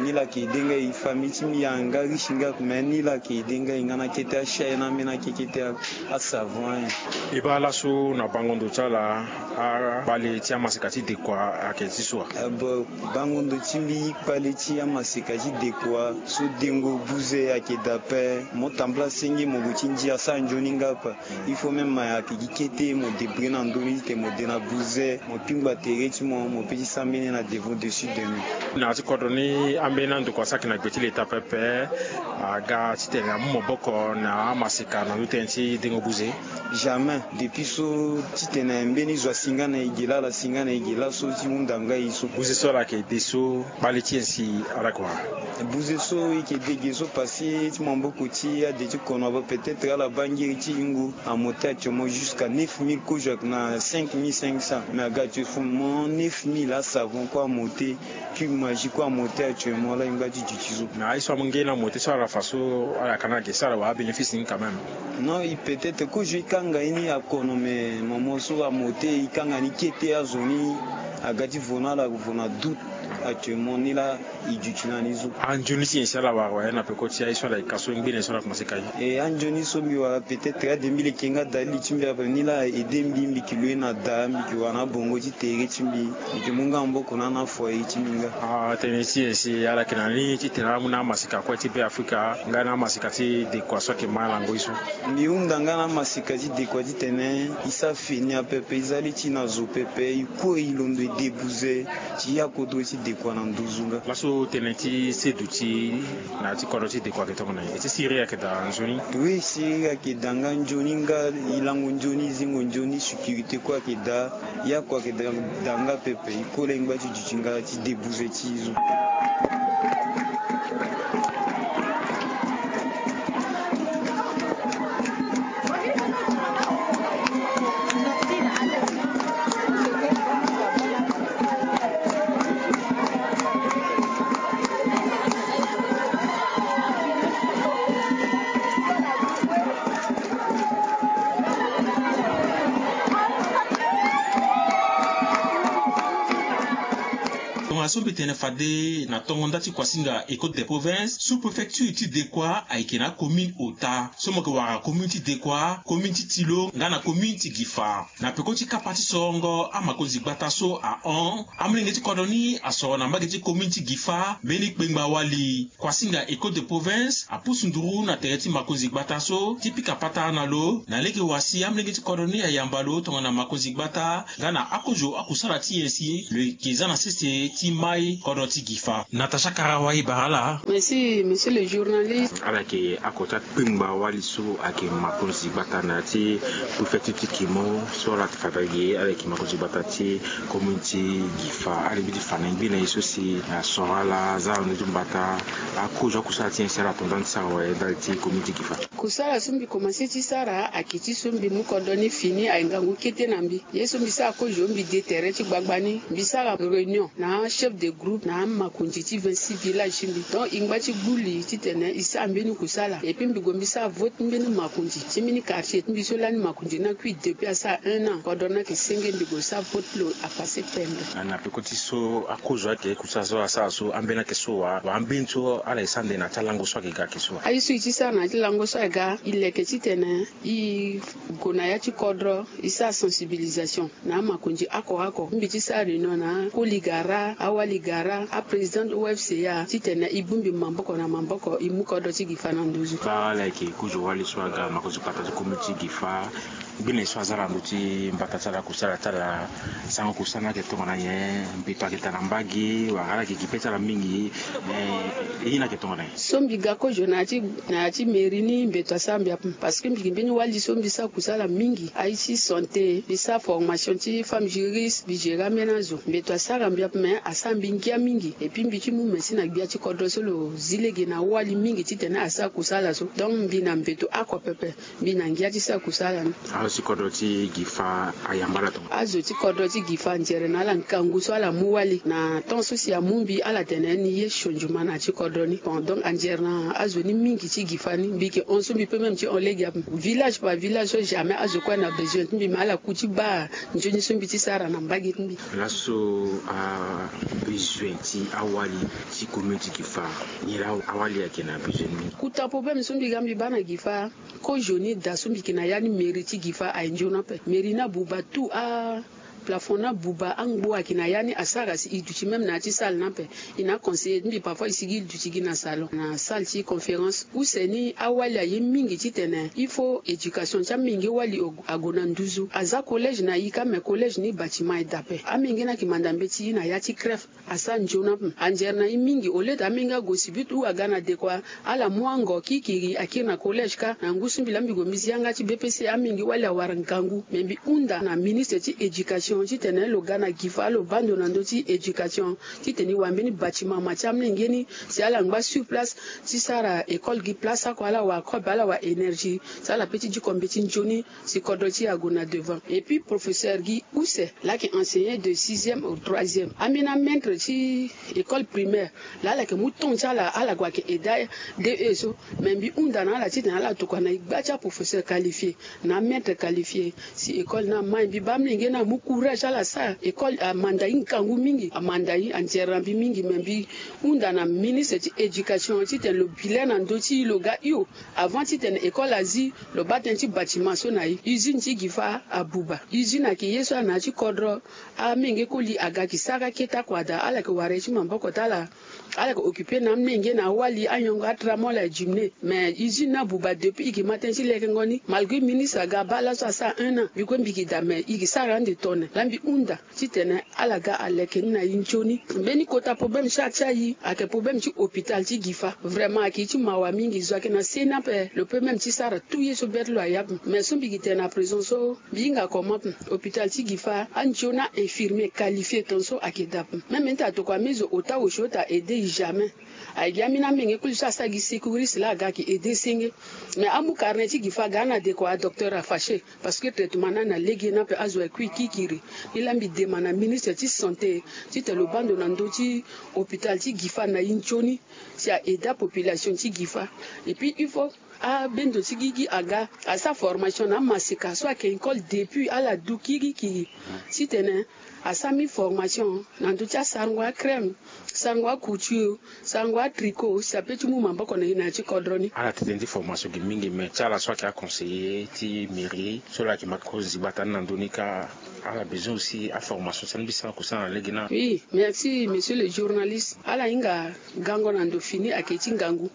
ni la yeke ede nga e famille ti mbi ayeke nga riche nga mais ni la yeke ede nga e nga na kete achai na ambeni akekete asavon ayen. E baa laso na bango ndo ti ala akpale ti amaseka ti dekua ayeke ti so wa? Eh, bon, bango ndo ti mbi kpale ti amaseka ti dekua so dengo buze ayeke daa ape. Mo tambula senge mo gue ti ndia asara nzoni nga ape. Il faut même mo yeke gi kete mo débrouiller na ndö ni titene mo de na buze mo pingba tere ti mo, mo peut ti sara mbeni na devant dessus de nous. Na ya ti kodro ni ambeni andokua so ayeke na gbe ti leta pepe aga titene amu maboko na amaseka na ndö tënë ti dengo buze? Jamais. Depuis so titene mbeni zo asi nga na e ge laa, ala si nga na e ge laso ti hunda nga e so. Buze so ala yeke de so kpale ti nyen si ala yeke wara? Buze so e yeke de ge so parce que ti maboko ti ade ti kono ape peut-être ala baa ngiri ti hingo amonte actuellement jusqu'à neuf mille kozo ayeke na cinq mille cinq cents mais aga actuellement neuf mille asavon kue amonte. Cube magie kue amonte actuellement laa e ngba ti duti so. Mais aye so amu nge ni amonte so ala fa so ala yaka ni age so ala wara abénéfice ni quand même? Non, e peut-être kozo e kanga ye ni akono mais moment so amonte e kanga ni kete azo ni aga ti vo na ala vo na doute. Actuellement ni laa e duti na ni so. Anzoni ti nyen si ala wara wala na peko ti aye so ala yeke ka so ngbene so ala komanse ka ye? E anzoni so mbi wara peut-être ade mbi leke nga dalili ti mbi ape ni laa aide mbi mbi yeke loue na daa mbi yeke wara na abongo ti tere ti mbi mbi yeke mu nga maboko na ana foyer ti mbi nga. Atënë ti nyen si ala yeke na ni titene ala mu na amaseka kue ti Be Afrika nga na amaseka ti dekua so ayeke ma lango ye so? Mbi hunda nga na amaseka ti dekua titene e sara fini ape. Pepe e za li ti na zo pepe e kue e londo e de buze ti ya kodro ti dekua na nduzu nga. Laso tënë ti seduti na ya ti kodro ti dekua ayeke tongana nyen? E ti siriri ayeke daa nzoni? Oui, siriri ayeke daa nga nzoni nga. E lango nzoni e zingo nzoni sécurité kue ayeke daa. Ya kue ayeke daa nga pepe e kue laa e ngba ti duti nga ti de buze ti zo. Tongana so mbi tene fade na tongo nda ti kuasinga Ecole de Province, sous-préfecture ti Dekua ayeke na acommune ota so mo yeke wara commune ti Dekua, commune ti Tilo nga na commune ti Gifa. Na peko ti kapa ti sorongo amakonzi gbata so ahon, amolenge ti kodro ni asoro na mbage ti commune ti Gifa mbeni kpengba wali. Kuasinga Ecole de Province apusu nduru na tere ti makonzi gbata so ti pika patara na lo na lege wa si amolenge ti kodro ni ayamba lo tongana makonzi gbata nga na akozo akusala ti nyen si lo yeke za na sese ti mai kodro ti Gifa. Natacha Karawa e bara ala. Merci, monsieur le journaliste. Ala yeke oko ti akpengba wali so ayeke makonzi gbata na ya ti préfecture ti Kimo so ala yeke fa na e ge, ala yeke makonzi gbata ti commune ti Gifa. Alingbi ti fa na e ngbene ye so si asoro ala, aza na ndö ti mbata, Akozo akusala ti nyen si ala tonda ni ti sara awe ndali ti komin ti Gifa? Kusala so mbi komanse ti sara ayeke ti so mbi mu kodro ni fini aye ngangu kete na mbi. Ye so mbi sara kozo mbi de tere ti gbagba ni mbi sara réunion na achef de groupe na amakonzi ti vingt-six village ti mbi. Donc e ngba ti gbu li titene e sara mbeni kusala epui mbi gue mbi sara vote ti mbeni makonzi ti mbeni quartier ti mbi so lani makonzi ni akui depuis asara un an kodro ni ayeke senge mbi gue sara vote lo apase pembe. Na peko ti so akozo ayeke kusala so asara so ambeni ayeke so wa wa ambeni so ala ye sara nde na ya ti alango so ayeke ga ayeke so wa? Aye so e ti sara na ya ti lango so ayeke ga e leke titene e gue na ya ti kodro e sara sensibilisation na amakonzi oko oko mbi ti sara réunion na akoli gara awali gara aprésident ofca titene e bongbi maboko na maboko e mu kodro ti Gifa na nduzu. Baa ala yeke kozo wali so aga makonzi pata ti komin ti Gifa. Gbene so aza na ndö ti mbata ti ala kusala ti ala sango kusala ni ayeke tongana nyen? Mbeto ayeke daa na mbage wala ala yeke gi pe ti ala mingi? Ye ni ayeke tongana nyen? So mbi ga kozo na ya ti na ya ti mairie ni mbeto asara mbi ape parce que mbi gi mbeni wali so mbi sara kusala mingi aye ti santé mbi sara formation ti femme juriste mbi gérer ambeni azo mbeto asara mbi ape mais asara mbi ngia mingi epui mbi ti mu mesi na gbia ti kodro so lo zi lege na awali mingi titene asara kusala so donc mbi na mbeto oko pepe. Mbi na ngia ti sara kusala ni. Azo ti kodro ti Gifa ayamba ala tonga? Azo ti kodro ti Gifa anzere na ala ngangu so ala mu wali na temps so si amu mbi ala tene ni ye changement na ya ti kodro ni bon donc anzere na azo ni mingi ti Gifa ni mbi yeke hon so mbi pe même ti hon lege ape village par village so jamais azo kue na besoin ti mbi me ala ku ti baa nzoni so mbi ti sara na mbage ti mbi. Laso abesoin ti awali ti komin ti Gifa nyen laa awali ayeke na besoin ni? Kota problème so mbi ga mbi baa na Gifa. Kozo ni daa so mbi yeke na ya ni mairie ti Gifa aye nzoni ape mairie ni abuba tout a plafond ni abuba angbo ayeke na ya ni asara si e duti même na ya ti salle ni ape. E na aconseiller ti mbi parfois e sigi e duti gi na salon na salle ti conférence use ni awali aye mingi titene il faut éducation ti amenge wali ague na nduzu aza collège na e kâ mais collège ni batiment e daa ape amenge ni ayeke manda mbeti e na ya ti crève. Asara nzoni ape anzere na e mingi au lieu ti amenge ague si but ou aga na dekua ala mu ango kirikiri akiri na collège kâ na ngu so mbi laa mbi gue mbi zi yanga ti bpc amenge wali awara ngangu me mbi hunda na ministre ti éducation titene lo ga na Gifa lo baa ndo na ndö ti éducation titene e wara mbeni batiment ma ti amenge ni si ala ngba sur place ti sara école gi place oko ala wara kobe ala wara énergie si ala pe ti diko mbeti nzoni si kodro ti e ague na devant epui professeur gi use laa ayeke enseignant de sixième au troisième ambeni amaitre ti école primaire laa ala yeke mu temps ti ala ala gue ayeke aide de e so me mbi hunda na ala titene ala tokua na e gba ti aprofesseur qualifié na amaitre qualifié si école ni ama e mbi baa amolenge ni amu courage ala sara école amanda e ngangu mingi amanda e anzere na mbi mingi me mbi hunda na ministre ti éducation titene lo bi le na ndö ti e lo ga hio avant titene école azi lo baa tënë ti batiment so na e usine ti Gifa abuba usine ayeke ye so ana ya ti kodro amenge koli aga yeke sara akete akua daa ala yeke wara ye ti maboko ti ala ala yeke occuper na amenge na awali anyongo atramol aye jumne mais usine ni abuba depuis e yeke ma tënë ti lekengo ni malgré ministre aga abaa laso asara un an mbi kue mbi yeke daa mais e yeke sara ande tone laa mbi hunda titene ala ga aleke ni na e nzoni mbeni kota problème ti atia e ayeke problème ti hôpital ti Gifa vraiment ayeke ye ti mawa mingi zo ayeke na se ni ape lo pe même ti sara tout ye so be ti lo aya ape mais so mbi yeke tene na présent so mbi hinga comment hôpital ti Gifa anzoni ainfirmier qualifié ton so ayeke daa ape même ita tokua mi zo ota osio ita aide e jamais aye gi ambeni amenge koli so asara gi secouriste laa aga ayeke aide senge mais amu carnet ti Gifa aga na dekua docteur afache parce que traitement ni ana lege ni ape azo aye kui kirikiri ni laa mbi demande na ministre ti santé titene lo baa ndo na ndö ti hôpital ti Gifa na e nzoni si a aide apopulation ti Gifa epui il faut abendo ti gigi aga asara formation na amaseka so ayeke école depuis ala du kirikiri titene asara mbi formation na ndö ti asarango acrème sarango acouture sarango atricot si ape ti mu maboko na e na ya ti kodro ni. Ala tene ti formation gi mingi mais ti ala so ayeke aconseiller ti mairie so ala yeke ma kozi gbata ni na ndö ni kâ ala besoin aussi aformation ti ala mbi sara kusala na lege ni. Oui merci monsieur le journaliste ala hinga gango na ndo fini ayeke ti ngangu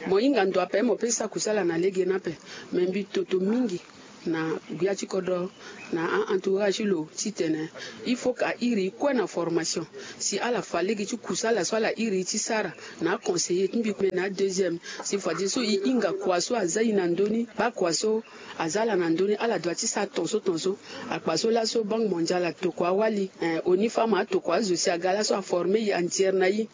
mo hinga ndo ape mo pe sara kusala na lege ni ape mais mbi toto mingi na gbia ti kodro, na a-entourage ti lo titene il faut ka iri kue na formation. Si ala fa lege ti kusa ala so ala iri ti sara na aconseiller ti mbi kue na adeuxième. Si fadeso e hinga kua so aza e na ndö ni, bakua so aza ala na ndö ni, ala doit ti sara tongaso tongaso. Akpa so laso Banque Mondiale atokua awali, eh, ONIFAM atokua azo si aga laso aformer e, andiere na e,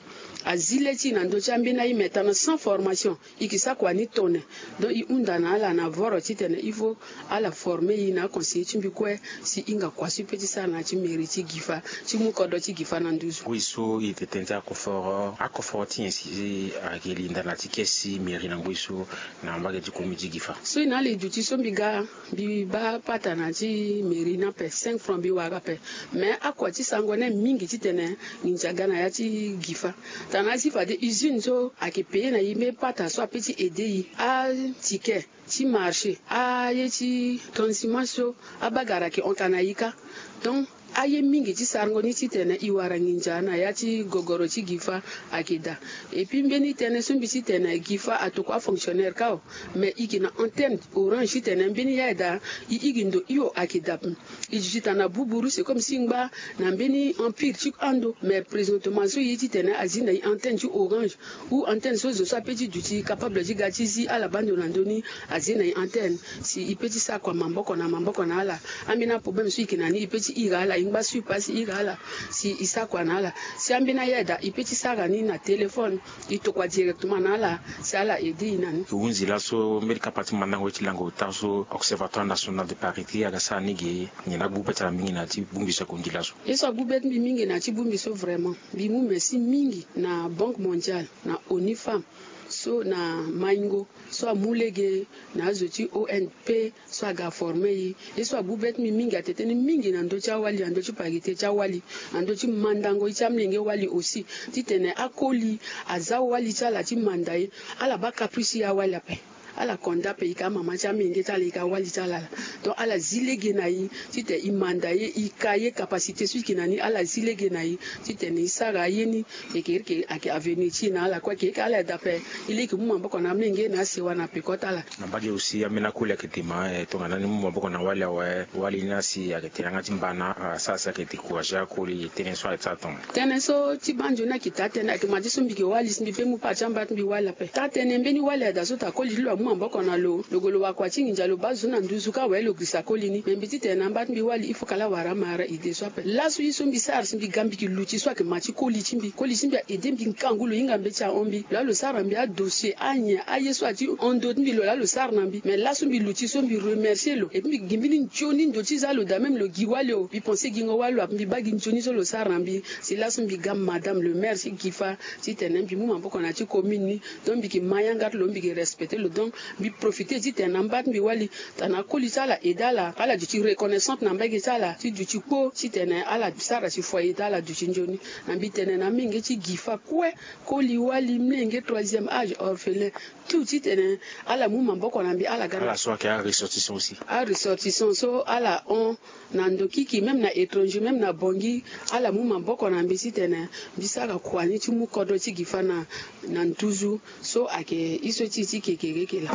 azi le ti e na ndö ti ambeni aye, mais tana sans formation e ke sara kua ni tone. Donc e hunda na ala na voro titene il faut ala former e na aconseiller ti mbi kue, si e hinga kua so e pe ti sara na ya ti mairie ti Guifa, ti mu kodro ti Guifa na nduzu. Ngoi so e tene ti akoforo, akoforo ti nyen si ayeke linda na ti kesi mairie na ngoi so na mbage ti komi ti Guifa? So e na ala e duti so mbi ga, mbi baa pata na ti mairie ni ape, cinq francs mbi wara ape. Mais akua ti sarango ni mingi titene nginza aga na ya ti Guifa. Tana azi fade usine so ayeke payer na e mbeni pata so ape ti aider e, aticket ti marché, aye ti transiment so abagara ayeke hon ka na e kâ. Donc aye mingi ti sarango ni titene e wara nginza na ya ti gogoro ti Guifa ayeke daa. Et puis mbeni tënë so mbi titene Guifa atokua afonctionnaire kâ o, mais e yeke na antenne Orange titene mbeni ya ayeke daa, e iri ndo hio ayeke daa. E duti tana buburu, c'est comme si e ngba na mbeni empire ti ando, mais présentement so e ye titene azi na e antenne ti Orange ou antenne so zo so ape ti duti capable ti ga ti zi ala baa ndo na ndö ni, azi na e antenne. Si e pe ti sara kua maboko na maboko na ala, ambeni aproblème so e yeke na ni e pe ti iri ala, e ngba sur place e iri ala si e sara kua na ala. Si ambeni aya daa e pe ti sara ni na téléphone, e tokua directement na ala si ala aider e na ni. E hunzi laso mbeni kapa ti mandango ye ti lango ota so Observatoire National de Parité aga sara ni ge, nyen agbu be ti ala mingi na ya ti bongbi so ayeke hunzi laso? Ye so agbu be ti mbi mingi na ya ti bongbi so, vraiment mbi mu merci mingi na Banque Mondiale, na ONIFAM, so na Maingo so amu lege, na azo ti O N P so aga former e. Ye so agbu be ti mbi mingi atene tënë mingi na ndö ti awali, na ndö ti parité ti awali, na ndö ti mandango ye ti amolenge wali aussi, titene akoli aza wali ti ala ti manda e. Ala baa caprice ti e awali ape. Ala konda ape, e yeke amama ti amolenge ti ala, e yeke awali ti ala laa. Donc ala zi lege na e titene e manda e, e ka ye capacité so e yeke na ni, ala zi lege na e titene e sara aye ni. Eke eke ayeke avenir ti e na ala kue, eke eke ala daa ape. E leke mu maboko na amolenge na asewa na peko ti ala. Na mbage aussi ambeni akoli ayeke dema, eh, tongana ni mu maboko na wali awe, wali ni asi ayeke tene yanga ti mbana, ah, asara si ayeke décourager akoli. Tënë so ayeke sara tongana? Tënë so ti baa nzoni ayeke taa tënë, ayeke ma ti so mbi yeke wali si mbi pe mu part ti amba ti mbi wali ape. Taa tënë mbeni wali ada so taa koli ti lo amu maboko na lo, lo gue lo wara kua ti nginza, lo baa zo na nduzu kâ awe, lo girisa koli ni. Me mbi titene na amba ti mbi wali il faut ka laa wara amara ide so ape. Laso ye so mbi sara si mbi ga mbi yeke luti so ayeke ma ti koli ti mbi. Koli ti mbi a aider mbi ngangu, lo hinga mbeti ahon mbi. Lo laa lo sara na mbi adossier, anyen, aye so ati hon ndö ti mbi, lo laa lo sara na mbi. Mais laso mbi luti so mbi remercier lo. Et puis mbi gi mbeni nzoni ndo ti za lo daa, même lo gi wali o, mbi pense gingo wali lo ape, mbi baa gi nzoni so lo sara na mbi. Si laso mbi ga madame le maire ti Guifa titene mbi mu maboko na ya ti commune ni. Donc mbi yeke ma yanga ti lo, mbi yeke respecter lo. Donc mbi profiter titene na mba ti mbi wali, tana koli ti ala aide ala, ala duti reconnaissante na mbage ti ala ti duti kpo titene ala sara si foyer ti ala duti nzoni. Na mbi tene na amolenge ti Guifa kue, koli, wali, molenge, troisième âge, orphelin, tout titene ala mu maboko na mbi, ala ga na ala so ayeke aressortissant aussi. Aressortissant so ala hon na ndo kiki, même na étranger, même na Bangui, ala mu maboko na mbi titene mbi sara kua ni ti mu kodro ti Guifa na, na nduzu. So ayeke ye so ti e ti kekereke laa.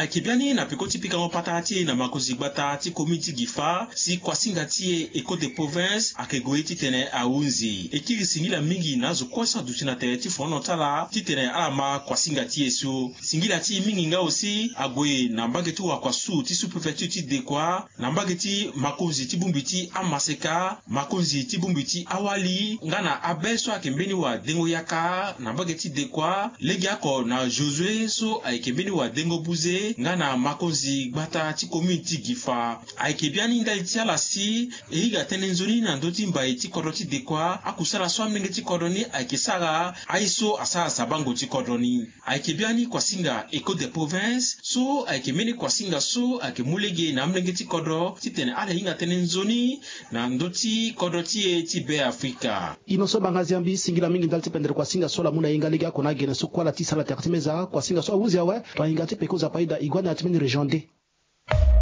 Ayeke biani na peko ti pikango patara ti e na makonzi gbata ti commune ti Guifa, si kuasinga ti e Ecole de Province ayeke gue titene ahunzi. E kiri singila mingi na azo kue so aduti na tere ti fonono ti ala titene ala ma kuasinga ti e so. Singila ti e mingi nga aussi ague na mbage ti wakua sud ti sous-préfecture ti Dekoa, na mbage ti makonzi ti bongbi ti amaseka, makonzi ti bongbi ti awali, nga na abe so ayeke mbeni wadengo yaka na mbage ti Dekoa, legeoko na Josué so ayeke mbeni wadengo buze, nga na makonzi gbata ti commune ti Guifa. Ayeke biani ndali ti ala si e hinga tënë nzoni na ndö ti mbai ti kodro ti Dekoa, akusala so amolenge ti kodro ni ayeke sara, aye so asara sabango ti kodro ni. Ayeke biani kuasinga Ecole de Province so ayeke mbeni kuasinga so ayeke mu lege na amolenge ti kodro titene ala hinga tënë nzoni na ndö ti kodro ti e ti Be Afrika. Ino so banga ziambi, singila mingi ndali ti pendere kuasinga so ala mu na hinga legeoko na agene so kue ala tisa ala tere ti meza. Kuasinga so ahunzi awe, tongana hinga ti peko Nzapa ayeda, e gue na ya ti mbeni région deux.